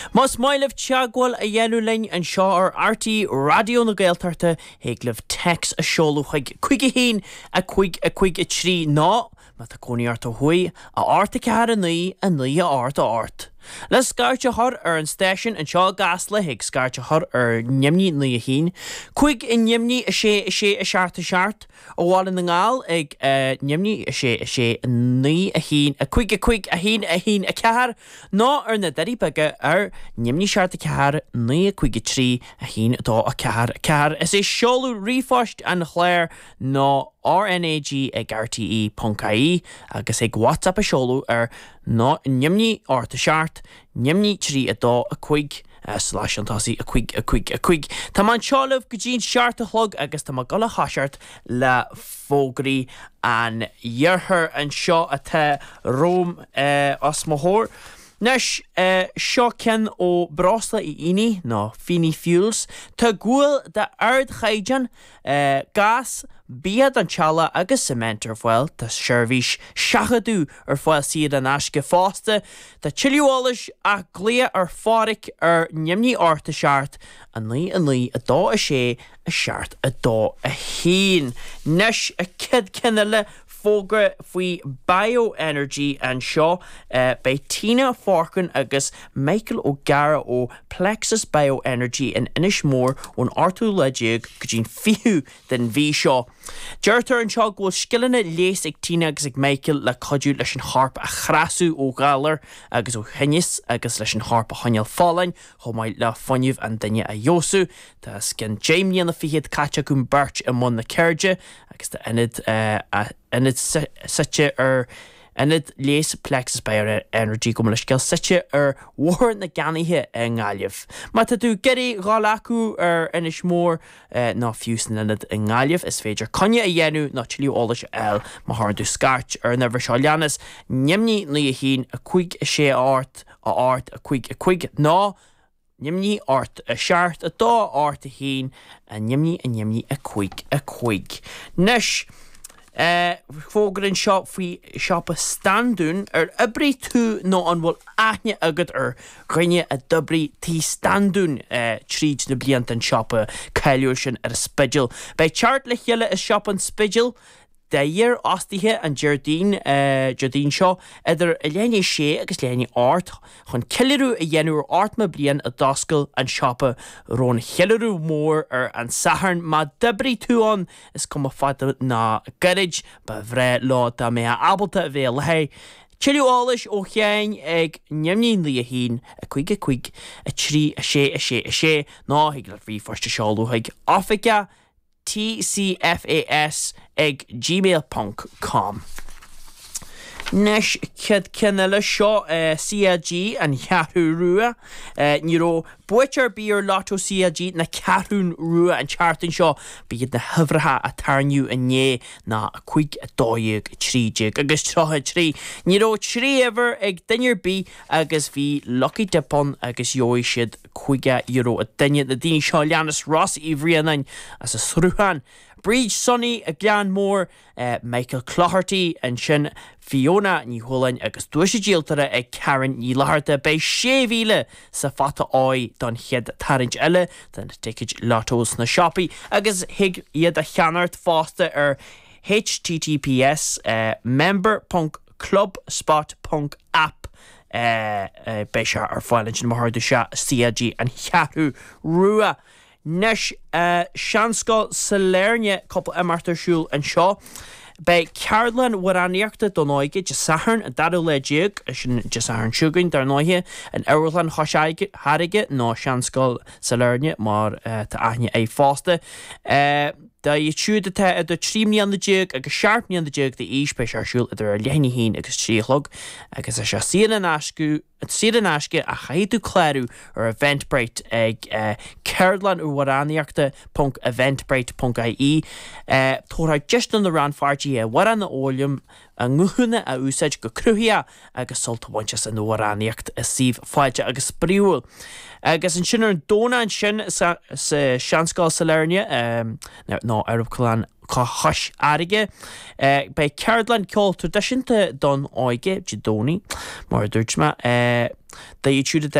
Más maith libh teagmháil a dhéanamh linn anseo ar RTÉ Raidió na Gaeltachta, thig libh téacs a seoladh chuig 5 1 5 5 3 nó, má tá cónaí ort ó thuaidh, 8 4 9 9 8 8. Le scairt a chur ar an stáisiún anseo i gCasla, thig scairt a chur ar neamhní 9 1 5 neamhní 6 6 7 7, Ó Bhaile na nGall ag neamhní 6 6 9 1 5 5 1 1 4 nó ar na Doirí Beaga ar neamhní 7 4 9 5 3 1 2 4 4. Is é seoladh ríomhphoist an chláir ná RnaG ag rte ponc ie agus thig WhatsApp a seoladh ar ná neamhní 8 7 neamhní 3 2 5 slais chun tosaigh 5 5 5. Tá mé anseo libh go dtí an seacht a chlog agus tá mé ag dul a thoiseacht le fógraí an iarthair anseo atá romham os mo chomhair. Anois, seo ceann ó Breosla Uí Fhínigh, nó Feeney Fuels. Tá gual d'ardchaighdeán, gás, bia don teaghlach agus cement ar fáil. Tá seirbhís seachadadh ar fáil saor in aisce fosta. Tá tuilleadh eolais ach glaoch ar Phádhraic ar neamhní 8 7 9 9 2 6 7 2 1. Anois, an chéad ceann eile, fógra faoi Bioenergy anseo. Beidh Tina Forkin agus Michael O'Gara ó Plexus Bioenergy in Inis Mór ón ochtú lá déag go dtí'n 20ú den mhí seo. Deirtear anseo go bhfuil scileanna leighis ag Tina agus ag Michael le cuidiú leis an chorp a chneasú ó ghalair agus ó thinneas agus leis an chorp a choinneáil folláin chomh maith le fuinneamh an duine a fheabhsú. Tá os cionn deich mbliana fichead caite acu beirt i mbun na ceirde agus tá ionad ionad suite ar Ionad Leighis Plexus Bioenergy gabh mo leithscéal suite ar Bhóthar na gCeannaithe i nGaillimh. Má tá tú ag iarraidh dhul acu ar Inis Mór, nó fiú san ionad i nGaillimh, is féidir coinne a dhéanamh nó tuilleadh eolais a fháil má chuireann tú scairt ar an uimhir seo a leanas, neamhní 9 1 5 6 8 8 5 5 nó neamhní 8 7 2 8 1 neamhní neamhní 5 5. Anois, Fógra anseo faoi siopa Standún. Ar oibrigh tú nó an bhfuil aithne agat ar dhuine a d'oibrigh Tigh Standún tríd na blianta, an siopa cáiliúil sin ar an Spidéal. Beidh teacht le chéile i siopa an Spidéil d'iarfhostaithe an Déardaoin, Déardaoin seo idir a leath i ndiaidh a sé agus leath i ndiaidh a hocht chun ceiliúradh a dhéanamh ar ochtó bliain a d'oscail an siopa. Romhainn cheiliúradh mór ar an Satharn. Má d'oibrigh tú ann, Is cuma fada ná gairid, ba bhreá leo dá mbeifeá ábalta a bheith i láthair. Tuilleadh eolais ó Sheáin ag neamhní 9 1 5 5 3 6 6 6 nó thig leat ríomhphost a seoladh chuig oifigeach tcfas ag gmail ponc com. Anois, chéad ceann eile, seo CLG an Cheathrú Rua. Ní raibh buaiteoir ar bith ar Lotto CLG na Ceathrún Rua an tseachtain seo. Ba iad na huimhreacha a tarraingíodh inné ná 5, 12, 13 agus 33. Ní raibh trí uimhir ag duine ar bith agus bhí lucky dip ann agus gheobhaidh siad €50 an duine. Na daoine seo a leanas, Ross Uí Bhraonáin as an Sruthán, Bríd Sonny, Gleann Mór, Michael Cloherty, ansin Fiona Ní Chualáin agus duais díoltóra ag Karen Ní Fhlatharta. Beidh 6,000 sa phota óir don chéad tarraingt eile de na ticéid Lotto sna siopaí agus thig iad a cheannacht fosta ar https member ponc clubspot ponc app Beidh sé ar fáil ansin má chuireann tú isteach CLG An Cheathrú Rua. Anois, Seanscoil Sailearna, cúpla imeacht ar siúl anseo. Beidh ceardlann amhránaíochta don óige Dé Sathairn, an dara lá déag, sin Dé Sathairn seo chugainn, dar ndóighe, in Amharclann Chois Fharraige, nó Seanscoil Sailearna mar tá aithne air fosta. Dóibh siúd atá idir 13 mbliana agus 17 mbliana d'aois, beidh sé ar siúl idir a leath i ndiaidh a haon agus trí a chlog agus tá sé saor in aisce. Saor in aisce ach caithfidh tú clárú ar Eventbrite ag ceardlann amhránaíochta ponc eventbrite ponc ie. Tabharfar deis do na rannpháirtithe amhráin a fhoghlaim, a nguthanna a úsáid go cruthaitheach agus sult a bhaint as an amhránaíocht i suíomh fáilteach agus spraíúil. Agus ansin ar an Domhnach ansin sa Seanscoil Sailearna, nó Amharclann Chois Fharraige. Beidh ceardlann ceol traidisiúnta don óige Dé Domhnaigh, mar a dúirt mé. Dóibh siúd atá.